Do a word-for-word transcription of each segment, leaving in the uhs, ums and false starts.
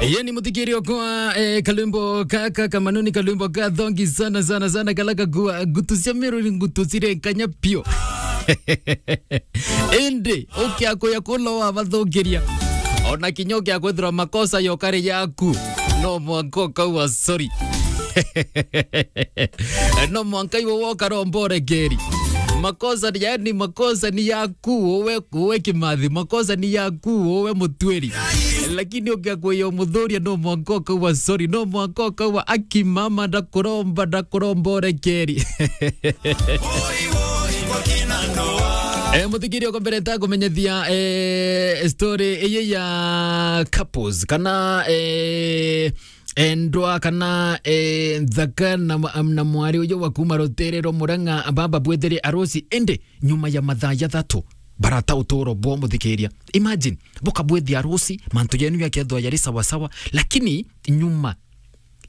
Yeni muthikiria okwa, eh, kalwimbo kaka kamanuni, kalwimbo ka thongi sana, sana, sana, kala kakua ngutu cia Meru ni ngutu cire nkanya pio. Indi, ukia kuya kula wabathukiria. Ona kinya ukia kwithirwa makosa yokari yaku. No mwanka ukauga sorry. No mwanka iwe woka romborekeri. Makosa ni, yani, makosa ni yaku, uwe, uwe Kimathi, makosa ni yaku, uwe Mutwiri. Lakini ukia kuya umuthuria, no mwanka ukauga sorry, no mwanka ukauga, "Aki mama, ndakuromba, ndakuromba urekeri." Eh, muthikiria, uko mbere ntakumenyethia, eh, story iyi ya couples, kana, eh, endwa, kana, eh, nthaka na mwa-, na mwari uyu wa kuma rutere rwa Murang'a, baba bwethire arusi, indi nyuma ya mathaa jathatu, barata uturo bwo, muthikiria. Imagine, bukabwithia arusi, mantu yenu yakethwa yari sawa sawa, lakini nyuma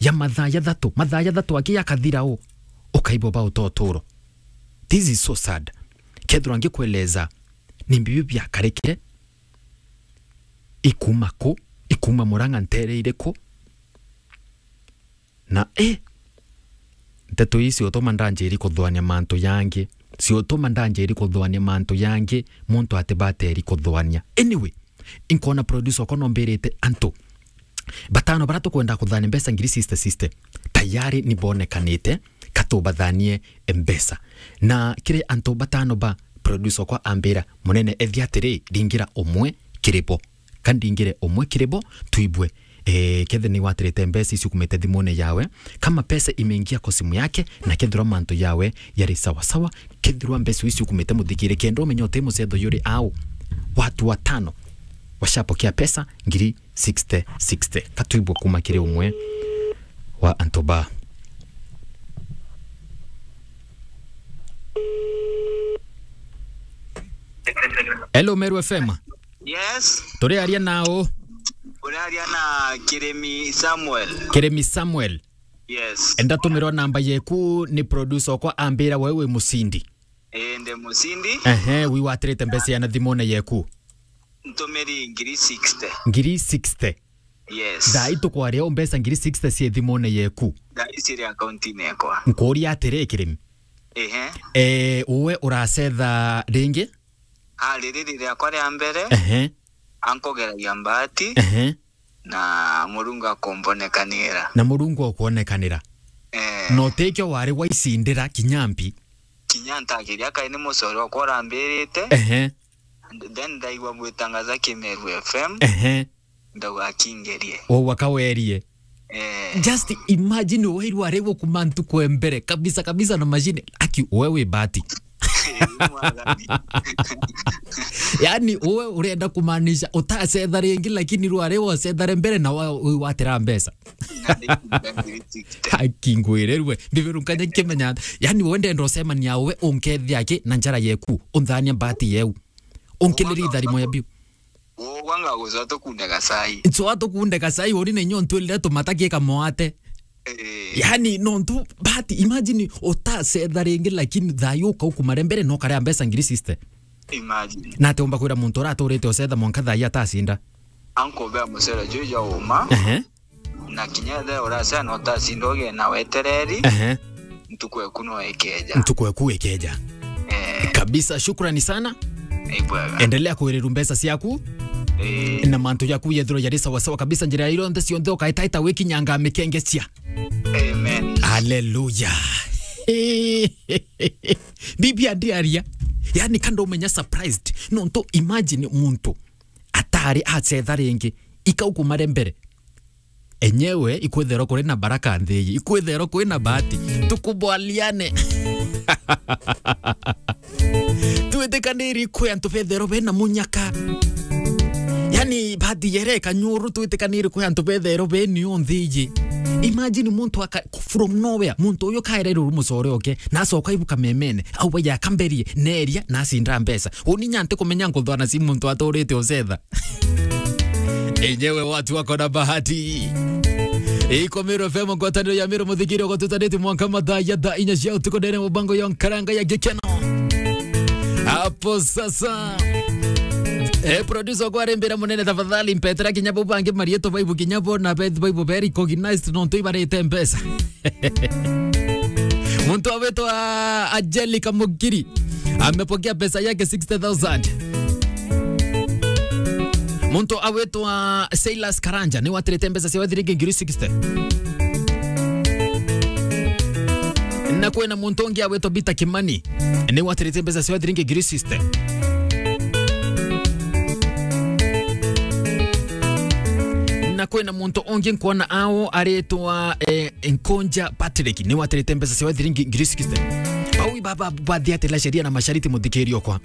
ya mathaa jathatu, mathaa jathatu aki yakathira u, ukaigua bauta uturo. This is so sad. Kethirwa ngikueleza ni mbibi biakarikire, ikuma ku, ikuma Murang'a ntere iriku, na, eh, nteto ii ciutuma ndanjiri kuthwania mantu jangi, ciutuma ndanjiri kuthwania mantu jangi, muntu ati bateri kuthwania. Anyway, inkona producer okwa nombirite antu batano bara tukwenda kuthania mbeca ngiri sixty sixty, tayari ni bonekanite, katubathanie mbeca. Na kiri antu batano ba, producer okwa ambira, "Munene, ethia atiri, ringira umwe kiri bo." Ka ndingire umwe kiri bo, tuibwe, eh, kethe ni watirite mbeca icio kumite thimune yawe, kama pesa imeingia kwa simu yake, na kethirwa mantu yawe yari sawa sawa, kethirwa mbeca icio kumite muthikire, kenda umenye uti mucetho yuri au. Watu watano washapokea pesa ngiri sixty sixty. Katuibwe kuma kiri umwe wa antu ba. Hello, Meru F M. Yes. Turiaria nau? Uraria na Kirimi Samuel. Kirimi Samuel. Yes. Ndatumirwa namba yeku ni producer okwa ambira wewe wi mucindi. Ii, ndi mucindi. Ehe, wi watirite mbeca ya na thimune yeku? Ntumiri ngiri sixty. Ngiri sixty. Yes. Thaa ii tukwaria u mbeca ngiri sixty cie thimune yeku? Thaa ii ciri akaunti-ini yakwa. Nkuuria atiri, Kirimi. Ehe. Eh, uwe uracetha ringi? Ah, riri ri riakwa ria mbere, ehe, ankugeragia mbaati, ehe, na Murungu akumbonekanira. Na Murungu okwonekanira. Eh. Na utikio wari waicindira kinya mbi? Kinya ntakiria kai ni mucore okwa urambirite. Ehe. Then ndaigua bwitangaza Kimeru F M. Ehe. Ndauga akingerie. O wakawerie. Eh. Just imagine, uwe rwari gukuma ntuku e mbere kabisa kabisa na machine. Aki, uwe wi bahati. Mwathani. Yani, uwe urenda kumaanisha utacetha ringi, lakini rwari wacethare mbere na wa-, wi watira mbeca. Na nikuga ngiri sixty. Aki, ngwire rue. Mbibiru nkanya kimenya. Yani, uwe ndenda ucemania uwe unkethia aki na njara yeku. Unthania bahati yeu. Unkiliri itharimo ya biu. Ugwa ngagucwa tukunde gacai. Ncwa tukunde gacai, uri na inya untwirire tumata ki kamwate. Eh. Yani, nontu, but imagine utacetha ringi, lakini thayu ukaukumare mbere no karia mbeca ngiri sixty. Imagine. Na ati umba kwira muntu uraturite ucetha mwanka thayu atacinda? Ankubea mucere juju jwa uma. Ehe. Na kinya ethe uracea no utacinda ugie na wetereri, ehe, ntuku eku no ikeja. Ntuku eku ikeja. Eh. Kabisa, shukrani sana. Ni bwega. Endelea kuiriru mbeca ciaku. Eh. Na mantu jaku yethirwa jari sawa sawa kabisa, njira ironthe cionthe ukaitaita wikinyanga mikengecia. Amen. Hallelujah. Bibi andiaria. Yani, kando umenya surprised. Nontu imagine muntu atari acetha ringi, ikaukumare mbere. Enyewe, ikwitherwa kuri na baraka nthi iji, ikwitherwa kuri na bahati. Tukubwaliane. Twitikaniri kwi antu betherwa bena munyaka. Yani, bahati yere kanyuru, twitikaniri kwi antu betherwa beni o nthi iji. Imagine muntu aka-, from nowhere, muntu uyu kaererwe mucore oke, na acoka ibuka memene, au baya akamberie, neria, na acinda mbeca. Uni nya ntikumenya nkuthwana ci muntu aturite ucetha. Enyewe watu wako na bahati. Iko Meru F M, ngwataniro ya Meru, muthikiri ugotutanitie mwanka mathaa ya thaa inya cia utuku ndene mubango ya nkaranga ya gikeno. Hapo sasa. Eh, producer kwa rembera munene, tafadhali mpetera kinya bo bangi marieto baibu kinya bo na bet baibu very recognized no ntu ibarite mpesa. Muntu awitwa Angelica Mugiri amepokea pesa yake sixty thousand. Muntu awitwa Silas Karanja ni watirite mpesa cia thiringi ngiri sixty. Na kwina muntu ungi awitwa Peter Kimani ni watirite mpesa cia thiringi ngiri sixty. Na kwina muntu ungi nkwona ao aritwa, eh, Nkonja Patrick ni watirite mpesa cia thiringi ngiri sixty. Au baba bathiatira sheria na mashariti, muthikiria okwa.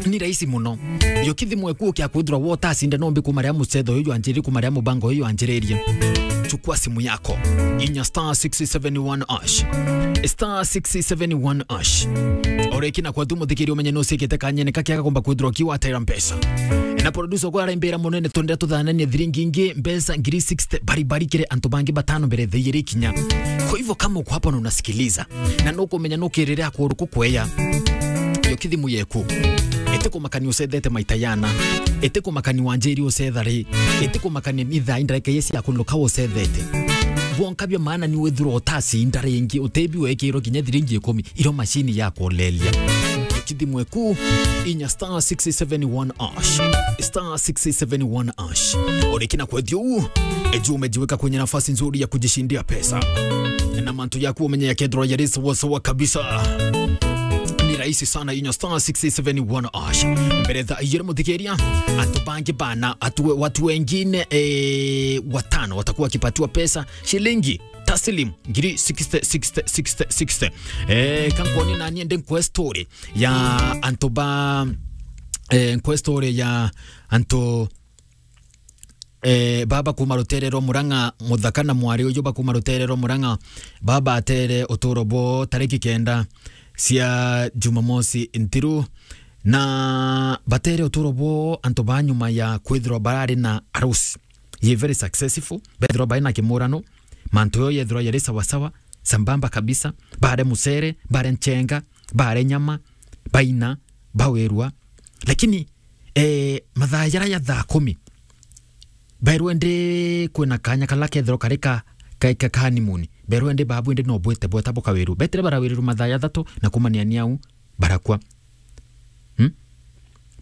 Ni rahisi muno. Yo kithi mweku ukia kwithirwa wo ta acinda nombi kumaria mucetho uyu anjiri, kumaria mubango uyu anjiririe. Chukua simu yako. Inya star six seven one hash. Star six seven one hash. Oreki na kwa tu muthikiri umenye no sikite kanyene kakiaga komba kwithirwa kiwa tera mpesa. Na producer kwa araimbira munene, twendera tuthananie thiringi ingi mpesa ngiri sixty bari bari kiri antu bangi batano mbere thaa igiri kinya. Kwa hivyo kama uko hapa na unasikiliza, na nukumenya nukirire akuru kukweya, yo kithimu yeku. Ete kumakania ucethete maita yana. Ete kumakania wanjiri ucetha ri. Ete kumakania ni thaa indareke yesi ya kuluka ucethete. Bwonka bia maana ni withirwa utacinda ringi, utebi wekirwo kinya thiringi ikumi, iro machine ya kulelia. Kithimu eku, inya star six seven one hash. Star six seven one hash. Oreki na kwethia uu, eju umejiweka kwenye nafasi nzuri ya kujishindia pesa. Na mantu yaku umenye yakethirwa yari sawa sawa kabisa. Ni rahisi sana, inya star six seven one hash. Mbere thaa igiri muthikiria, antu bangi bana, atu, watu wengine, eh, watano watakuwa wakipatiwa pesa, shilingi taslim ngiri sixty, sixty, sixty, sixty. Eh, kankwoni nani ende nkwe story ya antu ba, eh, nkwe story ya antu, eh, baba kuma rutere rwa Murang'a, muthaka na mwari uyu ba kuma rutere rwa Murang'a, baba atere uturo bo tariki kenda cia Jumamosi nthiru, na batere uturo bo antu ba nyuma ya kwithirwa barari na arusi ye very successful, bethirwa bai na kimurano, mantu yo yethirwa yari sawa sawa, sambamba kabisa, bare mucere, bare nchenga, bare nyama, baina, bawirwa. Lakini, eh, mathaa jara ya thaa kumi, berwe ndi kwina kanya kala kethirwa kari ka, ka, ka, ka honeymoon. Berwe ndi babu ndi no bwite bweta bukawiru. Betire barawirirwa mathaa jathatu na kumania ni au barakwa. Hmm?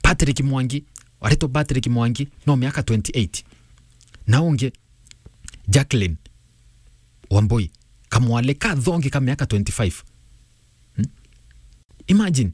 Patrick Mwangi, aritwa Patrick Mwangi, no miaka twenty-eight. Na ungi, Jacqueline Wambui, kamwale ka thongi ka miaka twenty-five. Hmm? Imagine,